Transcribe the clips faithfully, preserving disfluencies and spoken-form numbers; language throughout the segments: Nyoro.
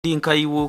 Nkaiwe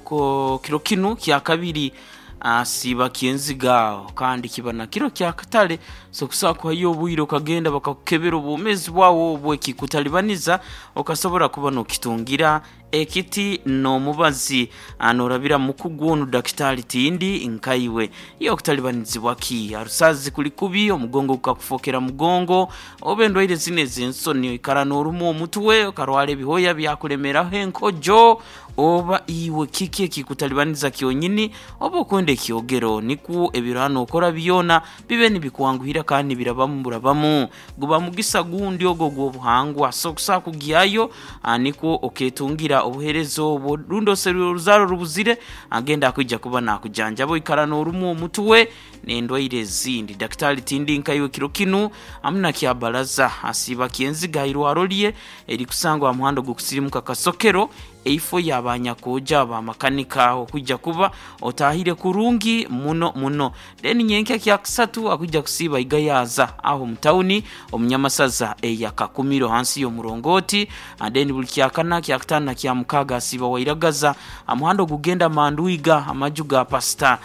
kiro kinu kyakabiri asiiba kyenziga kandi kiba na kiro kyakatale, so kusobola kuhayo obwire okagenda bakakukebera obwomeezi bwawe obu ekikutalibaniza okasobora kuba nokitungira ekiti n'omubazi norabira mukugu onu Dakitali Tindi nkaiwe. Iwe okutalibanizibwa ki? Arusazi kuli kubi, omugongo gukakufokera mugongo, oba endwaire zinu ez'ensoni oikara norumwa omutwe, okarwara ebihooya byakulemeraho enkojo, oba iwe kiki ekikutalibaniza kyonyini oba okwenda ekyogero, nikwo ebiro nokora byona bibe nibikwanguhira kandi nibirabamu burabamu. Guba mugisa gundi ogu ogw'obuhangwa, so kusobola kugyayo nikwo oketungira obuheereza obwo, rundi oserwire oruzaaro rubuzire agenda akwija kuba nakujanjaba oikara norumwa omutwe n'endwaire ezindi. Dakitali Tindi nkaiwe kiro kinu hamu na Kyabaraza asiiba kyenziga hairwaro rye erikusangwa ha muhanda ogukusirimuka Kasokero, eifo y'abanyakoja abamakanika okwija kuba otahire kurungi muno muno. Then nyenkya kyakusatu akwija kusiiba Igayaza aho omu tawuni omunyamasaza eya Kakumiro hansi y'omurongoti. Then buli kyakana, kyakutaano na kyamukaaga asiiba Wairagaza ha muhanda ogugenda Mandwiga amaju ga Pasita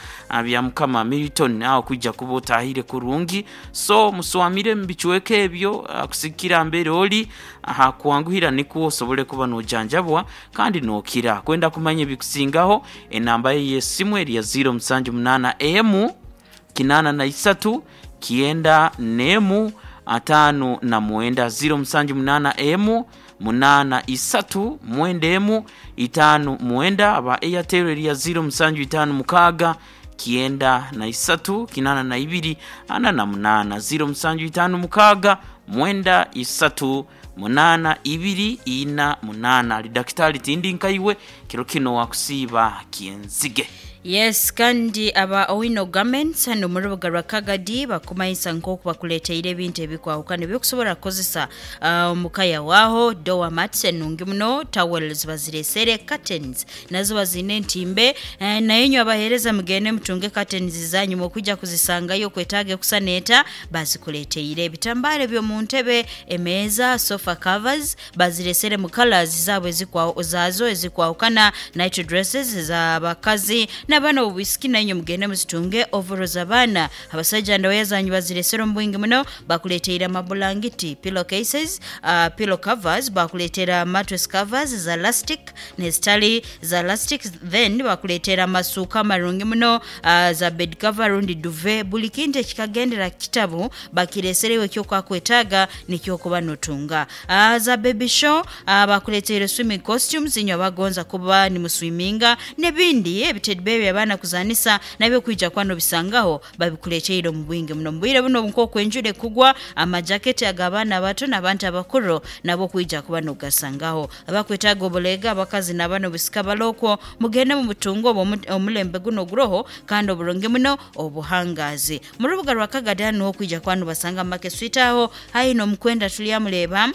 Byamukama Milton aho kwija kuba otahire kurungi. So muswamire omu bicweka ebyo kusigikira mbere ori hakwanguhira nikwo osobole kuba nojanjabwa kandi nokira. Kwenda kumanya ebikusingaho enamba ye y'esimu eri ya ziro musanju munaana emu kinaana na isatu kyenda n'emu ataano na mwenda, ziro musanju munaana emu munaana isatu mwenda emu itaano mwenda. Aba Airtel eri ya ziro musanju itaano mukaaga kyenda na isatu kinaana na ibiri ana na munaana, ziro musanju itaano mukaaga mwenda isatu munaana ibiri ina munaana. Ali Dakitali Tindi nkaiwe kiro kino wakusiiba kyenzige. Yes, kandi aba Owino Garments hano mu rubuga rwa Kagadi bakumanyisa nk'oku bakuleteire ebintu ebikwahukana ebyokusobola kukozesa uh, omukaya waaho. Door mats enungi muno, towels baziresere, curtains nazo bazine entimbe, eh, naye inywe abaheereza mugende mutunge curtains zanyu mukwijja kuzisangayo kwetaaga kusaneeta bazikuleteire. Ebitambaara eby'omu ntebe, emeeza, sofa covers baziresere mu colors zaabwe ezikwa zaazo ezikwahukana, night dresses ez'abakazi n'abaana obubisiki nainywe mugende muzitunge, overalls abaana abasajja ndowooza zanyu baziresere omu bwingi muno. Bakuleteire amabulangiti, pillow cases, uh, pillow covers, bakuleetera mattress covers za elastic nezitali za elastic, then bakuleetera amasuuka amarungi muno, uh, za bed cover rundi duvet, buli kintu ekikagendera kitabu bakireserewo ekyokwakwetaaga nikyokuba notunga. Uh, za baby show, uh, bakuleteire swimming costumes inywe abagonza kuba nimuswiminga n'ebindi ebitedi bebi abaana kuzanisa nabyo kwija kuba nobisangaho babikuleteire omu bwingi muno. Mu bwire buno nk'oku enjura ekugwa, amajaketi ag'abaana abato n'abantu abakuru nabo kwija kuba nogasangaho. Abakwetaaga obulega abakazi n'abaana obusika balokwo mugende mubutunge obwo omulembe guno oguroho kandi oburungi muno obuhangazi. Mu rubuga rwa Kagadi hanu niho okwija kuba nobasanga mu Market Street aho haihi n'omukwenda tulyamureeba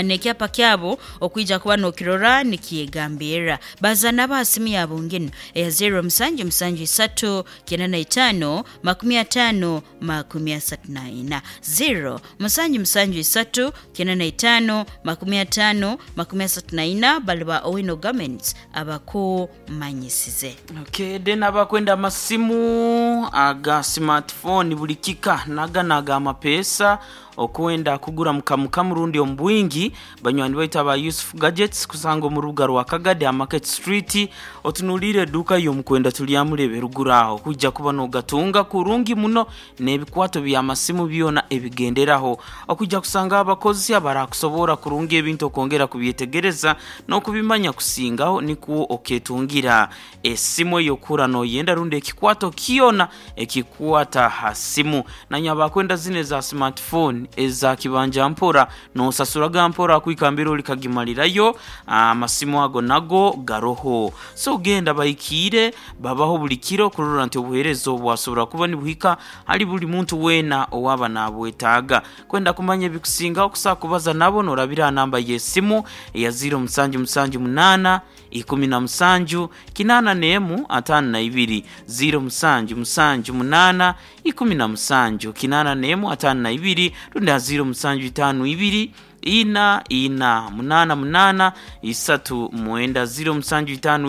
n'ekyapa kyabo okwija kuba nokirora nikiyegambirra. Baza nabo aha simu yabo nginu eya zero musanju musanju isatu kyenda na itaano makumi ataano makumi asatu na ina, zero musanju musanju isatu kyenda na itaano makumi ataano makumi asatu na ina. Bali ba Owino Garments abakumanyisize. Okay, then abakwenda amasimu aga smartphone buli kika naga naga amapeesa okwenda kugura mukamukamu rundi omu bwingi, banywani baitu aba Yusuf Gadgets kusanga omu rubuga rwa Kagadi ha Market Street, otunuliire eduuka y'omukwenda tulyamurebe ruguru aho kwija kuba nogatunga kurungi muno n'ebikwato by'amasimu byona ebigenderaho. Okwija kusanga abakozi abarakusobora kurungi ebintu okwongera kubyetegereza n'okubimanya kusingaho nikwo oketungira esimu ey'okura noyenda rundi ekikwato kyona ekikwata ha simu. Nanywe abakwenda zinu eza smartphone eza kibanja mpora nosasuraga mpora kwikambira olikagimalirayo, amasimu ago nago garoho. So genda bahikiire babaho buli kiro kurora nti obuheereza obu bwasobora kuba nibuhika hali buli muntu weena owaba nabwetaaga. Kwenda kumanya ebikusingaho kusobola kubaza nabo norabira ha namba y'esimu eya ziro musanju musanju munaana ikumi na musanju kinaana n'emu ataano na ibiri, ziro musanju musanju munaana ikumi na musanju kinaana n'emu ataano na ibiri rundi ha ziro musanju itaano ibiri Ina ina munana munana isatu mwenda ziro musanju itano.